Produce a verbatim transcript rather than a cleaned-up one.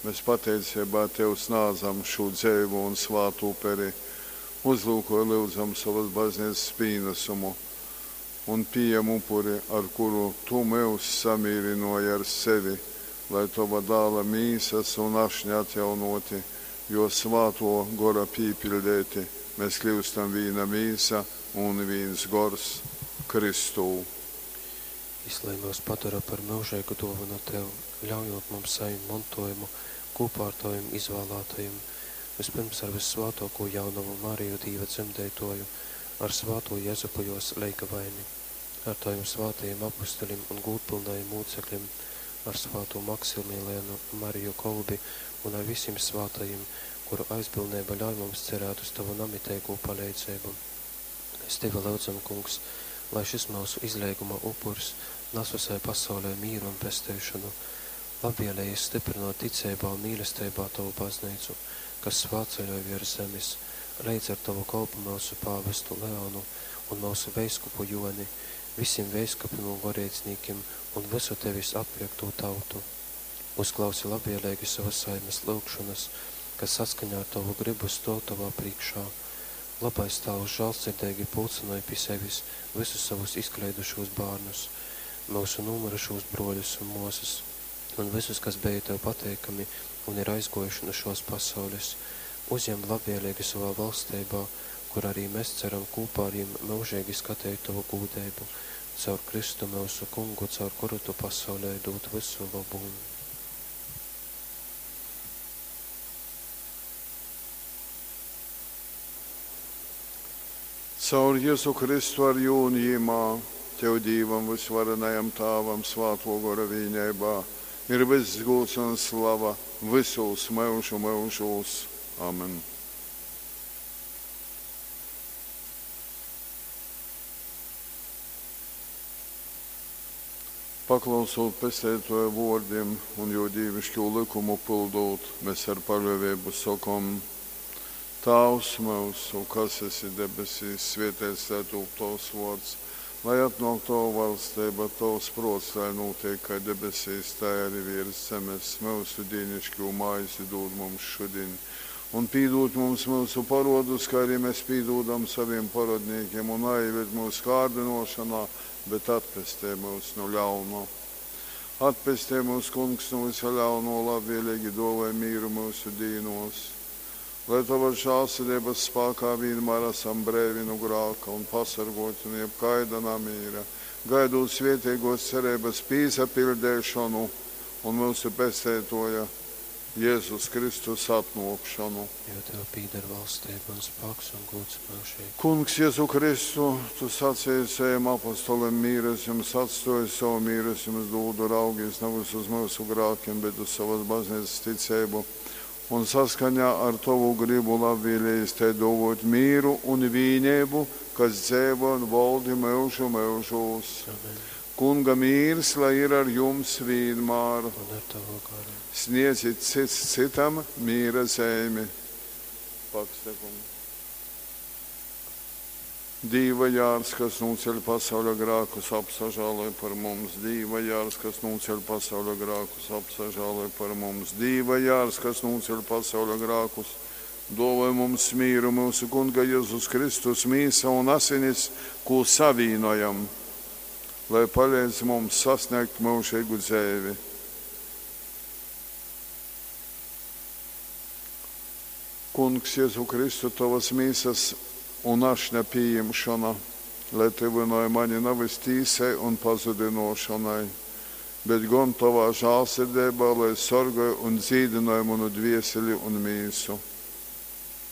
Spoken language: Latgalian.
mes pateiceibā Tev snādzam šū dzeivū un svātu uperi. Uzlyukoj, lyudzam, sovas Bazneicas pīnasumu un pījem upuri, ar kuru Tu myus samīrynōji ar sevi, lai, Tova Dāla Mīsas un Ašņa atjaunōti, Jō Svātō Gora pīpiļdeiti, mes kļyustam vīna mīsa un vīns gors Kristū. Jys lai myus padora par myužeigu dōvonu Tev, ļaujūt mums sajimt montōjumu kūpā ar Tovim izvālātajim, vyspyrms ar vyssvātōkū Jaunovu Mariju Dīva dzemdeitōju, ar svātū Jezupu jōs leigavaini, ar Tovim svātajim apustulim un gūdpylnajim mūceklim, ar svātū Maksimilianu Mariju Kolbi un ar visim svātajim, kuru aizbildneiba ļauj mums cerēt uz Tovu namiteigū paleidzeibu. Mēs Tevi lyudzam, Kungs, lai šys myusu izleiguma upurs nas visai pasaulei mīru un pesteišonu. Labvēlīgi stiprinot ticeibā un mīlesteibā Tovu baznīcu, kas svātceļoj viers zemes, leidz ar Tovu kolpu myusu pāvestu Leonu un myusu veiskupu Joni, visiem veiskupim un goreidznīkim un visu Tevis atpirktū tautu. Uzklausi labvēlīgi savas saimes lyugšonas, kas saskaņā ar Tovu gribu stōv Tovā priekšā. Labais Tāvs žālsirdeigi pulcynoj pi sevis visus savus izkleidušūs bārnus, myusu nūmyrušūs brōļus un mōsas, un visus, kas bija Tev pateikami un ir aizgōjuši nu šōs pasaules. Uzjem labvēlīgi savā valsteibā, kur arī mēs ceram kopā ar jim myužīgi skatīt Tovu gūdeibu, caur Kristu myusu Kungu, caur kuru Tu pasaulē dūd visu labumu. Caur Jezu Kristu ar jū un jimā, Tev Dīvam vysvarenajam Tāvam svātō Gora vīneibā ir vyss gūds un slava vysūs myužu myužūs. Amen. Paklausūt Pesteitōja vōrdim un jō dīviškū lykumu pyldūt, mes ar paļōveibu sokom, Tāvs myusu, kas esi debesīs, svēteits lai tūp Tovs vōrds, lai atnōk Tova valsteiba, Tovs prōts lai nūteik kai debesīs, tai ari viers zemes. Myusu dīniškū maizi dūd mums šudiņ, un pīdūd mums myusu porodus, kai arī mēs pīdūdam savim porodnīkim, un naīved mūsu kārdynōšanā, bet atpestej mūs nu ļauno. Atpestej mūs, Kungs, nu vysa ļauno, labvēlīgi dōvoj mīru myusu dīnos. Lai Tavas žālsirdības spākā vienmēr esam breivi nu grāka un pasargoti nu jebkaida namīra, gaidot svētīgos cerības pīsapildēšanu un myusu Pesteitoja Jēzus Kristus atnōkšanu. Jo Tev pīder valstība un spāks un gods myužīgi. Kungs Jēzu Kristu, Tu sacīji saviem apostolim, mīru es jums atstoju, savu mīru es jums dūdu, raugies nevis uz myusu grākiem, bet uz savas baznīcas ticību. Un saskaņā ar Tovu gribu labvēlējis tai dōvot mīru un vīneibu, kas dzeivo un valdi myužu myužūs. Amen. Kunga mīrs, lai ir ar jums vienmēr. Un ar Tavu garu. Sniedzit cits citam mīra zeimi. Pakste, kungs. Dīva jārs, kas nūceļ pasauļa grākus, apsažāloj par mums. Dīva jārs, kas nūceļ pasauļa grākus, apsažāloj par mums. Dīva jārs, kas nūceļ pasauļa grākus, dōvoj mums mīru, myusu Kunga Jēzus Kristus mīsa un asinis, kū savīnojam, lai paleidz mums sasniegt myužīgu dzeivi. Kungs Jēzu Kristu, Tavas mīsas un ašņa pieņemšana, lai tyvināja mani nevis tīsai un pazudinošanai, bet gan Tavā žālsirdībā, lai sargāja un dzīdināja manu dvieseli un mīsu.